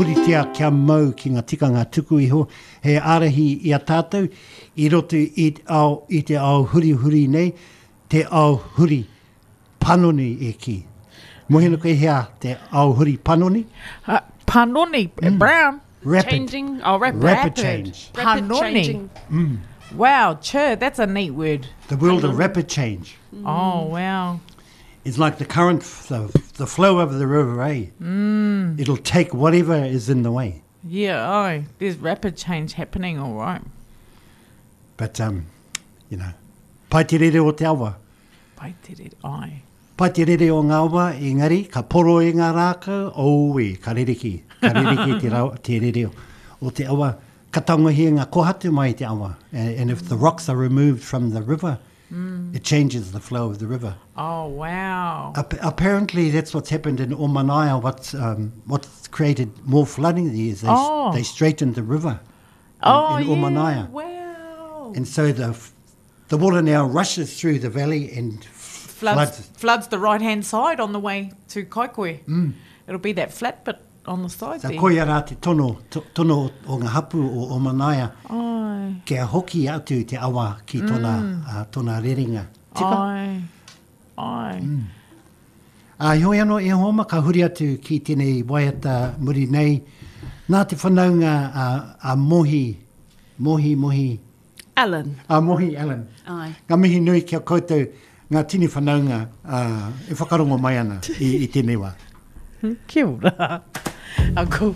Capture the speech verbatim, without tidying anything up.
puritia kia mau ki ngā tikanga tuku iho, he ārahi i a tātou i roto i, ao, i te ao hurihuri nei, te ao huri panoni e ki. Mohina koe hea te ao huri panoni? Uh, panoni, mm. brown. Rapid. Changing. Oh, rapid. Rapid change. Rapid Panoni. changing. Wow, chur, that's a neat word. The world of rapid change. Oh, wow. It's like the current, the, the flow of the river, eh? Mm. It'll take whatever is in the way. Yeah, oh, there's rapid change happening, all right. But, um, you know, pai te rere o te awa. Pai te rere, ai. Pai te rere o ngā awa, engari, ka poro i ngā rākau, oe, ka rereki. Ka rereki te, rau, te rere o te awa. Ka tangohia ngā kohatu mai i te awa. And, and if the rocks are removed from the river, mm. it changes the flow of the river. Oh, wow. Ap- apparently, that's what's happened in Omanaia. What's, um, what's created more flooding there is they, Oh. they straightened the river in, oh, in yeah, Omanaia. wow. And so the, f- the water now rushes through the valley and Floods, floods. floods the right-hand side on the way to Kaikohe. Mm. It'll be that flat bit on the side So there. koia rā te tono, to, tono o ngā hapu o Omanaia Ai, kia hoki atu te awa ki tōna, mm. uh, tōna rerenga. Tika? ai, ai. Mm. Ā, heoi anō e homa, ka huri atu ki tēnei waiata muri nei. Nā te whanaunga a, a Mohi, Mohi, Mohi, Alan. a Mohi Allen. Ai. Ngā mihi nui ki a koutou, ngā tini whanaunga uh, e whakarongo mai ana i, i tēnei wā. Kia ora. Uncle.